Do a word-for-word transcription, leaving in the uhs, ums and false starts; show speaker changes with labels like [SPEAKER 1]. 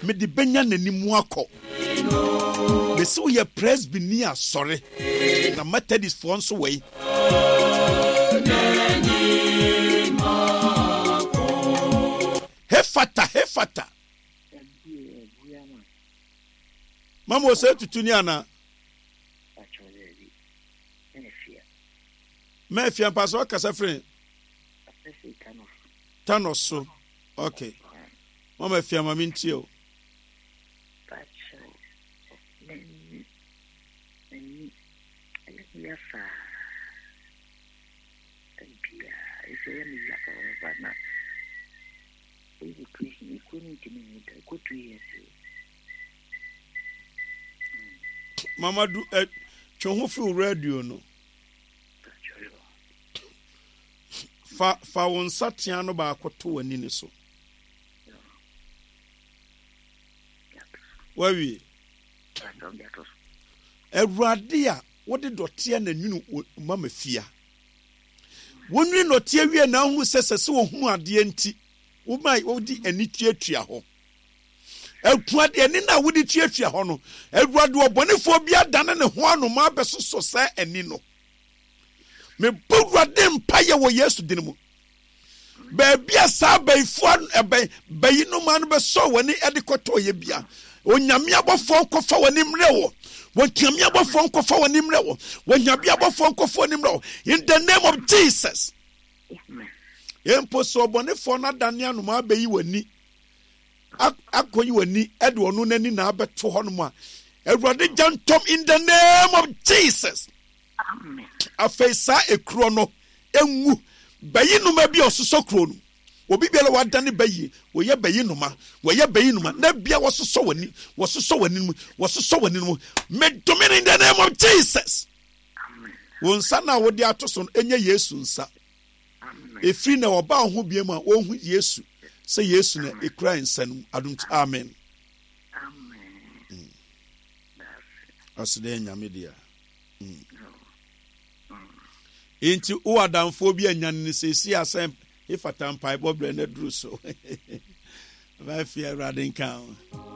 [SPEAKER 1] Mede bɛnya n'anim akɔ. Mesi woyɛ Presbyni asɔre na Methodistfoɔ nso wɔ yi. Hefata, hefata. Mama ɔsɛ tutu ni ana? Mɛfia mpa sɛ ɔkasa firi Thanos so. Okay. Mama fia ma mentie o. Mama du eh, twe ho firi radio no. Fa fa wo nsa tea no baako to w'ani no so. Wawie. Awurade a wode dɔteɛ na nwunu mama fia. Wonwene dɔteɛ wie na ahunu sɛ sɛ sɛ wɔhunu adeɛ nti woma wode ani tuatua hɔ. Awurade ani no a wode tuatua hɔ no, Awurade ɔbɔnefoɔ bi adane ne ho anoma abɛsosɔ saa ani no. Mebɔ Awurade mpaeɛ wɔ Yesu din mu. Baabi a saa abayifoɔ ɛbɛn bayi no ma no bɛsɔ w'ani de kɔtɔ yɛ bia. Onyame abɔfoɔ nkɔfa w'ani mmerɛ wɔ. Onyame abɔfoɔ nkɔfa w'ani mmerɛ wɔ. Onyame abɔfoɔ nkɔfa w'ani mmerɛ wɔ. In the name of Jesus. Mpo sɛ ɔbɔnefoɔ no adane anoma abɛyi w'ani akɔyi w'ani de ɔno n'ani na abɛto hɔnom a, Awurade gya ntɔm in the name of Jesus. Afei saa ekuro no enwu. Bayi noma bi a ɔsosɔ kuro no. Obi biara wadane bayi, wɔyɛ bayi noma, wɔyɛ bayi noma. Na bia wɔsosɔ w'ani, wɔsosɔ w'ani mu, wɔsosɔ w'ani mu. Medome no in the name of Jesus. Wo nsa no a wode ato so no enye Yesu nsa. Efiri na ɔba wo ho biem a wɔhu Yesu sɛ Yesu na ekura nsa no mu. Adom amen. Amen. Ɔsɛ Nyame dea. Nti wowɔ adamfoɔ bi anyane no seesei a sɛ efata mpaebɔ berɛ no aduru so. Bɛafie Awurade nka ho.